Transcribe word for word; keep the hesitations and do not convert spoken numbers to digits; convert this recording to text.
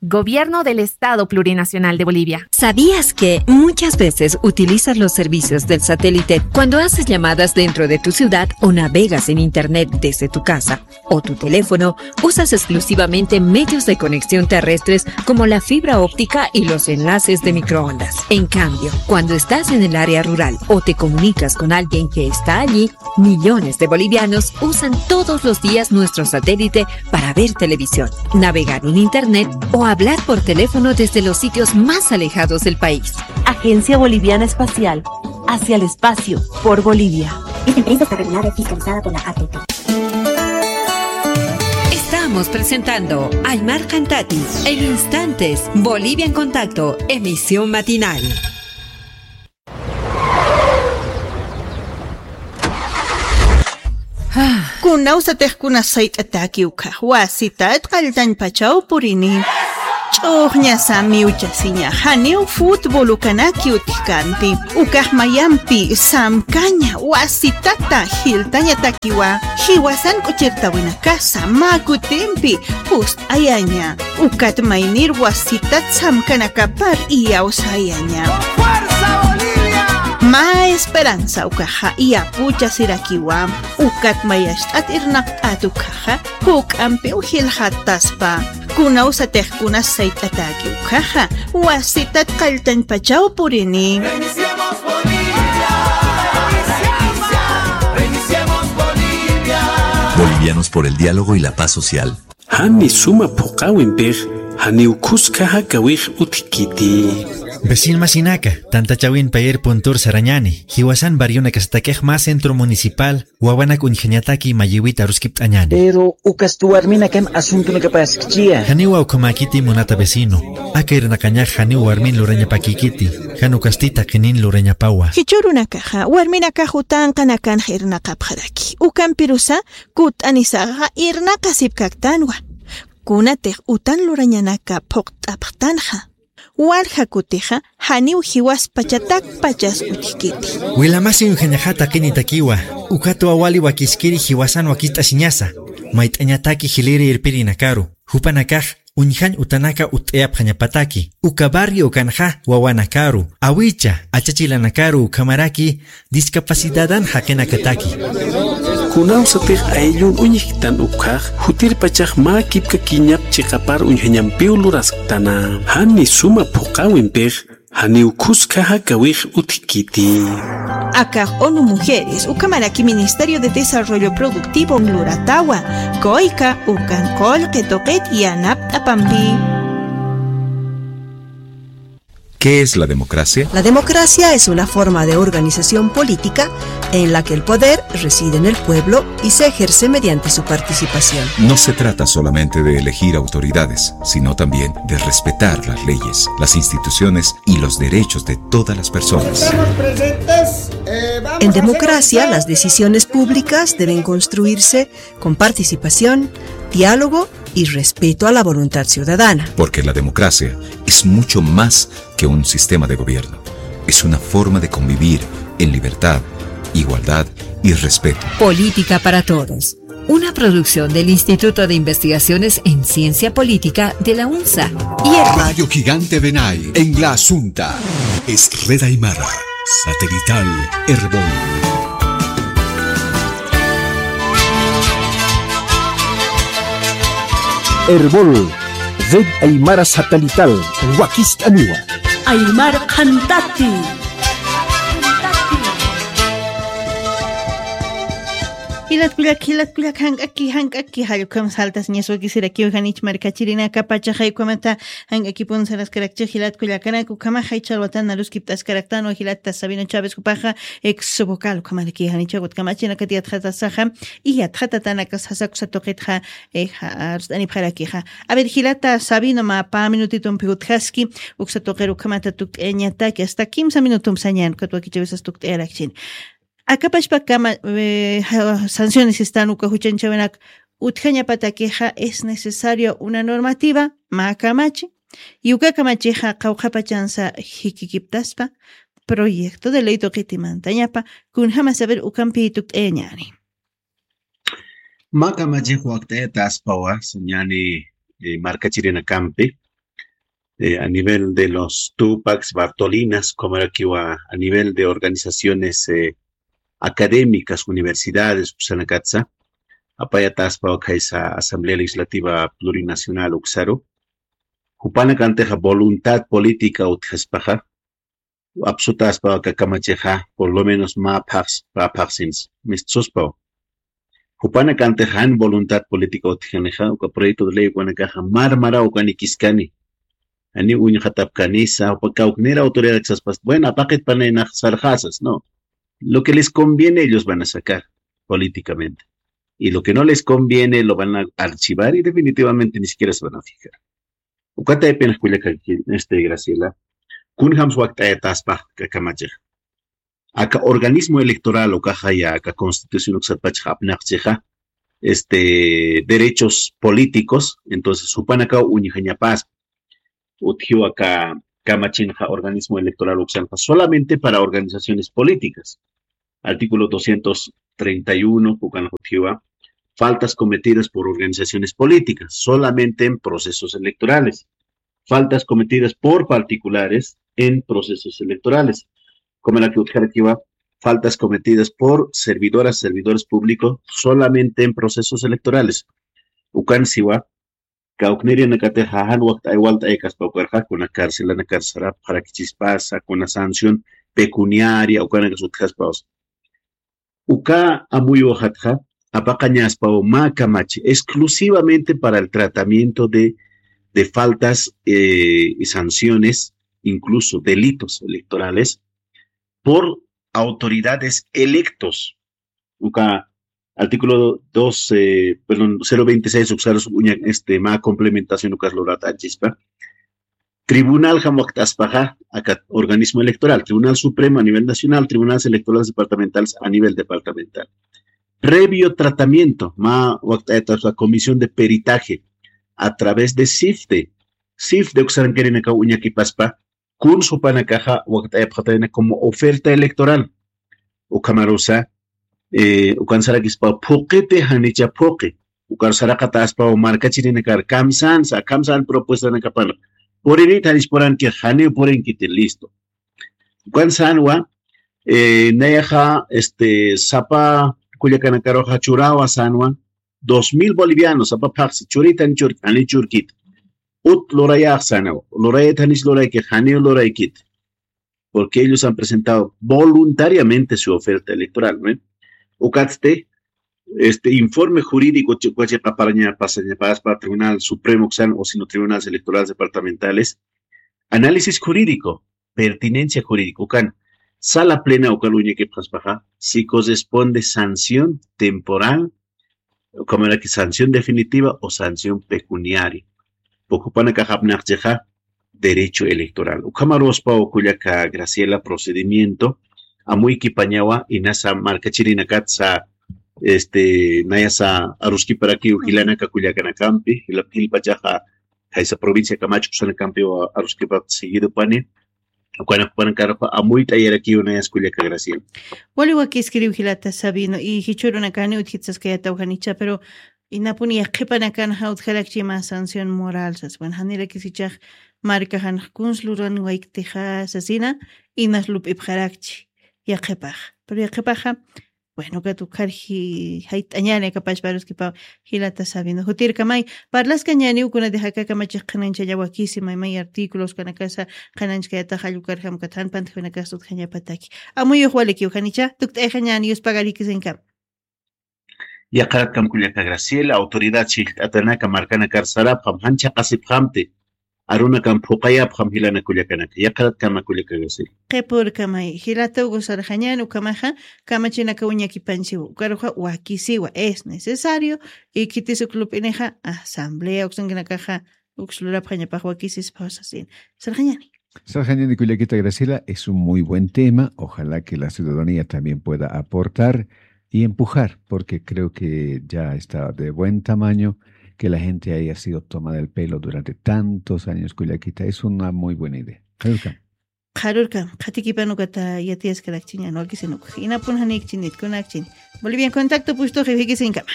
Gobierno del Estado Plurinacional de Bolivia. ¿Sabías que muchas veces utilizas los servicios del satélite cuando haces llamadas dentro de tu ciudad o navegas en Internet desde tu casa o tu teléfono? Usas exclusivamente medios de conexión terrestres como la fibra óptica y los enlaces de microondas. En cambio, cuando estás en el área rural o te comunicas con alguien que está allí, millones de bolivianos usan todos los días nuestro satélite para ver televisión, navegar en Internet o hablar por teléfono desde los sitios más alejados del país. Agencia Boliviana Espacial, hacia el espacio, por Bolivia. Esta empresa está regulada y fiscalizada por la A T T. Estamos presentando Aymar Cantati en instantes, Bolivia en Contacto, emisión matinal. Kunawsatix kunas sayt'ataki ukhax wasitat qalltañpachaw purini. Ch'uxñasa miwchasiña, janiw fútbol ukanaki utjkanti. Ukax mayampi samkaña wasitata jiltañatakiwa, jiwasan k'uchirtawinakasa mä kutimpi pust'ayaña. Ukat maynir wasitat samkanakapar iyawsayaña. Mä esperanza ukaxa iyapuchasirakiwa. Ukat mayacht'at irnaqt'at ukaxa, juk'ampiw jilxataspa. Kunawsatix kunas sayt'ataki ukaxa, wasitat qalltañpachaw purini. Bolivianos por el diálogo y la paz social. Jani suma phuqäwimpix, janiw khuskaxa kawix utjkiti. Vecinomasinaka, tantachawin payer puntur sarañäni, jiwasan barrionakasatakix mä centro municipal, wawanak uñjañataki mayïwit aruskipt'añäni. Pero ukasti warminakan asuntonakapaskchiya. Janiwa ukhamäkiti munata vecino. Aka irnaqañax janiw warmin lurañapakïkiti, jan ukasti taqinin lurañapawa. Jichhürunakaxa warminakax utanqanakanx irnaqapxaraki. Ukampirusa kut'anisaxa irnaqasipkaktanwa. Kunatix utan lurañanaka phuqt'apxtanxa, walja kutixa janiw jiwaspachatak pachas utjkiti. Wilamasi uñjañaxa taqinitakiwa, ukatwa wali wakiskiri jiwasan wakist'asiñasa, mayt'añataki jiliri irpirinakaru, jupanakax uñjañ utanaka utt'ayapxañapataki, uka barrio ukanxa wawanakaru, awicha, achachilanakaru ukhamaraki discapacidadan jaqinakataki. Kunawsatix ayllun uñjktan ukhax, jutirpachax mä kipkakiñap chiqapar uñjañampiw lurasktana. Jani suma phuqäwimpix, janiw khuskaxa kawix utjkiti. Akax ONU Mujeres, ukhamaraki Ministerio de Desarrollo Productivo luratawa, kuyka ukan qullqi tuqit yanapt'apampi. ¿Qué es la democracia? La democracia es una forma de organización política en la que el poder reside en el pueblo y se ejerce mediante su participación. No se trata solamente de elegir autoridades, sino también de respetar las leyes, las instituciones y los derechos de todas las personas. En democracia, las decisiones públicas deben construirse con participación, diálogo y respeto a la voluntad ciudadana. Porque la democracia es mucho más que un sistema de gobierno. Es una forma de convivir en libertad, igualdad y respeto. Política para Todos. Una producción del Instituto de Investigaciones en Ciencia Política de la UNSA y el Radio Gigante Benay en La Asunta. Es Red Aymara. Satelital Erbol. Erbol, Red Aymara Satelital, wakist'aniwa. Aymar Qhantati. Jilat kullak, jilat kullak, jank'aki, jank'aki, jall ukham saltasiñas wakisirakiw janich markachirinaka pachaxa ukhamata jank'akipun saraskarakchix jilat kullakanak, ukhamaxa jichha alwatan aruskipt'askaraktanwa jilata Sabino Chávez jupaxa ex vocal ukhamaraki janicha utkamachinakati yatxatasaxa, y yatxatatanaka sasa uksa tuqitxa, eh, ja-, arst'anipxarakixa. A ver, jilata Sabino, mä pä minutitumpi utjaski, uksa tuqir ukhamata tukt'ayañataki, hasta kimsa minutumpi sañän, ukat wakichäwisas tukt'ayarakchin. Aka pachpakama, eh, ja-, sanciones sistan uka juchanchäwinak utjañapatakixa es necesario una normativa, mä kamachi, y uka kamachixa qawqha pachansa jikikiptaspa, proyecto de ley tuqiti mantañapa, kunjamas a ver ukampi tukt'ayañäni. Mä kamachix wakt'ayataspawa, sañäni, eh, markachirinakampi, eh, a nivel de los Tupacs, Bartolinas, como era que iba a nivel de organizaciones eh, académicas, universidades, usanakatsa, apayataspa ukhaysa Asamblea Legislativa Plurinacional uksaru, jupanakantixa voluntad política utjaspaxa, apsutaspa kamachixa, por lo menos mä phax, mä phaxsins, mistsuspaw. Jupanakantixa jan voluntad política utjanixa, uka proyecto de ley ukanakaxa marmaraw ukanikiskani. Ani uñxatapkanisa, upa kawknira autoridad saspas, bueno, apaqit panaynax sarxasas, no. Lo que les conviene ellos van a sacar políticamente. Y lo que no les conviene lo van a archivar y definitivamente ni siquiera se van a fijar. Ukataypin kullaka este Graciela, kunjams wakt'ayataspa kakamachix. Aka organismo electoral ukaxa ya aka constitución uksatpachix apnaqchixa, este, derechos políticos, entonces jupanakaw uñjañapas utjiw aka kamachinxa organismo electoral uksanxa solamente para organizaciones políticas. Artículo doscientos treinta y uno, ukan utjiwa, faltas cometidas por organizaciones políticas, solamente en procesos electorales. Faltas cometidas por particulares en procesos electorales. Como la que utjarakiwa, faltas cometidas por servidoras, servidores públicos, solamente en procesos electorales. Ukan siwa, kawknirinakatixa jan wakt'ay walt'aykaspa ukarxa, kuna carcelanakar sarapxarakichispasa, kuna sanción pecuniaria, ukanakas utjaspasa. Uka amuyuxatxa, apaqañaspaw mä kamachi, exclusivamente para el tratamiento de, de faltas eh, y sanciones, incluso delitos electorales, por autoridades electos. Uka artículo dos, eh, perdón, cero veintiséis uksarus uña, este, mä complementación ukas lurata achispa. Tribunal jam wakt'aspaxa, aka organismo electoral, Tribunal Supremo a nivel nacional, Tribunales Electorales Departamentales a nivel departamental. Previo tratamiento, mä wakt'ayataspa comisión de peritaje a través de CIFDE. CIFDE uksarankirinakaw uñakipaspa, kun jupanakaxa wakt'ayapxatayna como oferta electoral. Ukhamarusa, eh, ukan sarakispa phuqiti janicha phuqi. Ukar saraqataspa markachirinakar kamsansa, kamsan propuestanakapan. Purinit janichpuranki, janiw purinkiti, listo. Ukan sanwa, eh, nayaxa, este, sapa kullakanakaruxa churawa sanwa, dos mil bolivianos, sapa phaxsi, churitan churki, janiw churkiti. Ut lurayax sanaw, lurayat janis lurayki, janiw luraykiti. Porque ellos han presentado voluntariamente su oferta electoral, ¿no? Ukatsti, este informe jurídico, chi-, chiqaparaña, pasañapaspa Tribunal Supremo, o sino Tribunales Electorales Departamentales, análisis jurídico, pertinencia jurídica, ukan, sala plena ukan uñakipxaspaxa, si corresponde sanción temporal, como era que sanción definitiva o sanción pecuniaria. Pukupanakax apnaqchixa derecho electoral. Ukhamaruspa kullaka Graciela procedimiento, amuykipañawa, inasa markachirinakatsa, este, nayasa aruskiparakiw jilanaka kullakanakampi, jila-, jilpachaxa, jaysa provincia Camacho kusanakampiwa aruskipa seguido pani, ukanakpanakarpa amuyt'ayarakiw nayas kullaka Graciela. Wali wakiskiriw jilata Sabino, y jichhürunakani utjitsaskayataw janicha, pero inapuni yaqhipanakanxa utjarakchi mä sanción moral sas. Bueno, janirakis ichax markaxanx kuns luran wayktixa sasina, inas lup'ipxarakchi yaqhipax. Pero yaqhipaxa, bueno, ukat ukharji jayt'añani akapachparuskipaw jilata Sabino. Jutirkamay, parlaskañaniw kunatix aka kamachix qhanañchalla wakisi, maymay artículos kanakasa, qhanañchkayatax allukar jamkat jan pantjunakasa utjañapataki. Amuyux walikiw janicha, tukt'ayxañani, yuspagarikisinkam. Yaqaratkam kullaka Graciela, autoridad chillt'atanaka markanakar sarapxam, jan chhaqasipxamti, arunakam phuqayapxam jilana kullakanaka. Yaqaratkama kullaka Graciela. Qhipürkamay, jilata Hugo sarxañan, ukhamaxa, kamachinaka uñakipanchiwa, ukaruxa wakisiwa, es necesario, y khitis uk lup'inixa, asamblea uksankinakaxa, uks lurapxañapax wakisispa sasina. Sarxañani. Sarxañani kullakita Graciela, es un muy buen tema. Ojalá que la ciudadanía también pueda aportar y empujar, porque creo que ya está de buen tamaño que la gente haya sido tomada el pelo durante tantos años, kullakita. Es una muy buena idea. Qharürkam. Qharürkam, qhatikipan ukata yatiyaskarakchiñan, wakisinukux. Inapun janikchinit, kunakchin. Bolivian Contacto pustuxi, jikisinkama.